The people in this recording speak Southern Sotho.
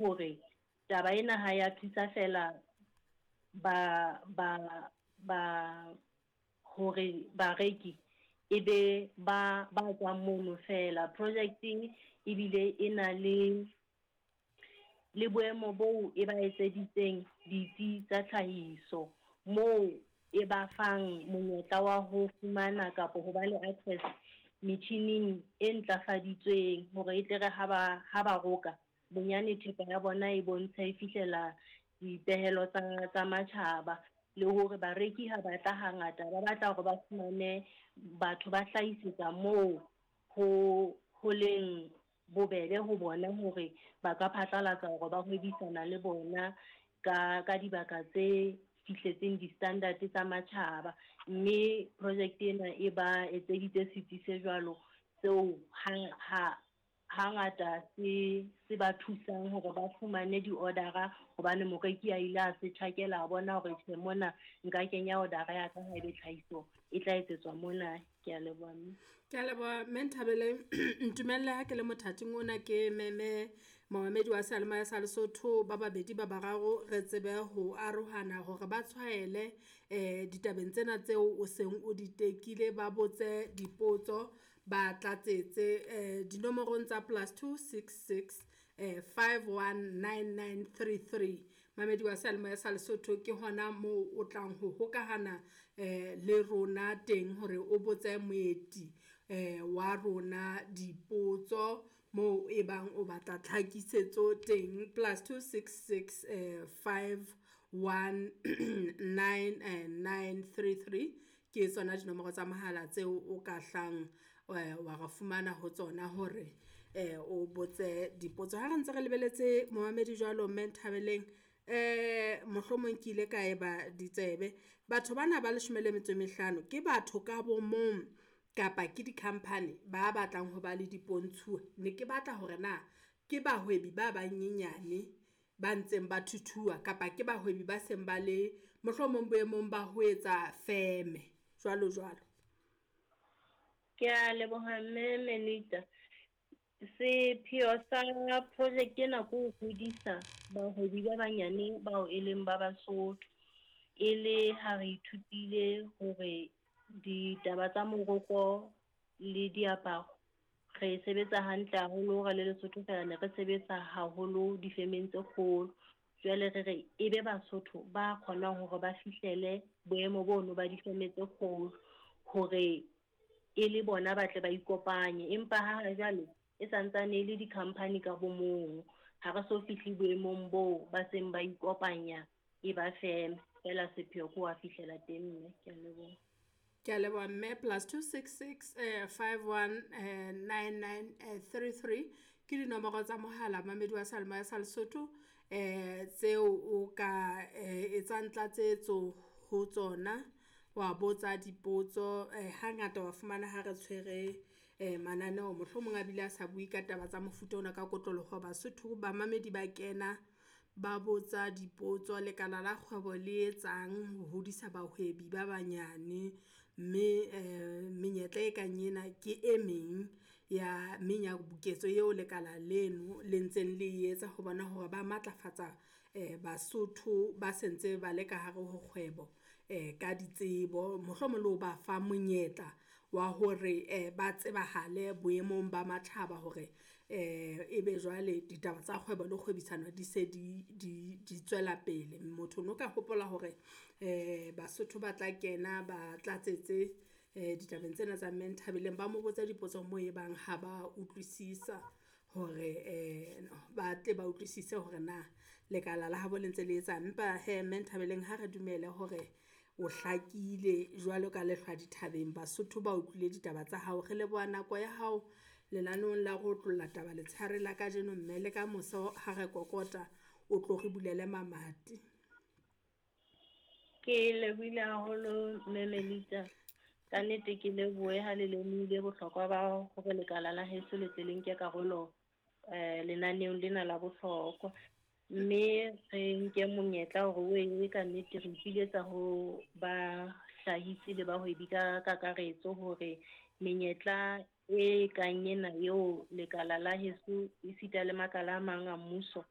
Hore taba ena ha ya thusa feela ba ba ba hore bareki e be ba ba tswang mono feela. Project ebile e na le le boemo boo e ba etseditseng ditsi tsa tlhahiso, moo e ba fang monyetla wa ho fumana kapa ho ba le access metjhining e ntlafaditsweng hore e tle re ha ba ha ba roka, bonyane thepa ya bona e bontshe e fihlela dipehelo tsa tsa matjhaba. Le hore bareki ha ba tla hangata ba batla hore ba fumane batho ba hlahisetsa moo ho ho leng bobebe ho bona hore ba ka phatlalatsa hore ba hwebisana le bona ka ka dibaka tse fihletseng di-standard tsa matjhaba. Mme project ena e ba etseditse setsi se jwalo seo ha ha hangata se se ba thusang hore ba fumane di-order-a hobane moreki a ile a se tjhakela a bona hore tjhe mona nka kenya order-a ya ka haebe tlhahiso e tla etsetswa mona. Ke a leboha mme. Ke a leboha mme Nthabeleng. Ntumelle ha ke le mothating ona ke meme momamedi wa seyalemoya sa Lesotho ba babedi ba bararo re tsebe ho arohana hore ba tshwaele ditabeng tsena tseo o seng o di tekile, ba botse dipotso, ba tlatsetse dinomorong tsa +266 519933. Mamedi wa seyalemoya sa Lesotho ke hona moo o tlang ho hokahana le rona teng hore o botse moeti wa rona dipotso moo e bang o batla tlhakisetso teng. +266 519933 ke tsona dinomoro tsa mohala tseo o ka hlang wa re fumana ho tsona hore o botse dipotso. Ha re ntse re lebeletse momamedi jwalo mme Nthabeleng, mohlomong ke ile ka eba ditsebe. Batho bana ba leshome le metso e mehlano ke batho ka bo mong kapa ke di-company ba batlang ho ba le dipontshuwa? Ne ke batla hore na ke bahwebi ba banyenyane ba ntseng ba thuthuha kapa ke bahwebi ba seng ba le mohlomong boemong ba ho etsa feme jwalo jwalo. Ke a leboha mme Melita. Sepheo sa project ena ke ho hodisa bahwebi ba banyane bao e leng ba Basotho. E le ha re ithutile hore ditaba tsa moroko le diaparo re sebetsa hantle haholo re le Lesotho fela ne re sebetsa haholo difemeng tse kgolo. Jwale re re e be Basotho ba kgonang hore ba fihlele boemo bono ba difeme tse kgolo hore e le bona ba tle ba ikopanye. Empa ha jwale e santsane e le di-company ka bo mong. Ha re so fihle boemong boo ba seng ba ikopanya e ba feme. Feela sepheo ke ho fihlela teng mme. Ke a leboha. Ke a leboha mme. +266 519933 ke dinomoro tsa mohala mamedi wa seyalemoya sa Lesotho tseo o ka etsang tlatsetso ho tsona, wa botsa dipotso. Hangata wa fumana ha re tshwere mananeo mohlomong a bile a sa bue ka taba tsa mofuta ona ka kotloloho. Basotho bamamedi ba kena ba botsa dipotso, lekala la kgwebo le etsang ho hodisa bahwebi ba banyane, mme menyetla e kang ena ke e meng ya menyabuketso eo lekala leno le ntseng le etsa ho bona hore ba matlafatsa Basotho ba sentse ba le ka hare ho kgwebo ka ditsebo, mohlomong le ho ba fa monyetla wa hore ba tsebahale boemong ba matjhaba hore ebe jwale ditaba tsa kgwebo le kgwebisano di se di tswela pele. Motho no ka hopola hore Basotho ba tla kena ba tlatsetse ditabeng tsena tsa mme Nthabeleng, ba mo botsa dipotso moo e bang ha ba utlwisisa hore ba tle ba utlwisise hore na lekala la habo le ntse le etsang. Empa hee mme Nthabeleng ha re dumele hore o hlakile jwalo ka lehlwa dithabeng. Basotho ba utlwile ditaba tsa hao. Re leboha nako ya hao lenaneong la ho otlolla taba letshehare la kajeno mme le ka moso ha re kokota, o tlo re bulele mamati. Ke lebohile haholo mme Melita. Ka nnete ke lebohe ha le lemohile bohlokwa ba hore lekala la heso le tle le nke karolo lenaneong lena la bohlokwa. Mme re nke monyetla hore o e ka nnete re ipiletsa ho bahlahisi le bahwebi ka kakaretso hore menyetla e kang ena eo lekala la heso esita le makala a mang a mmuso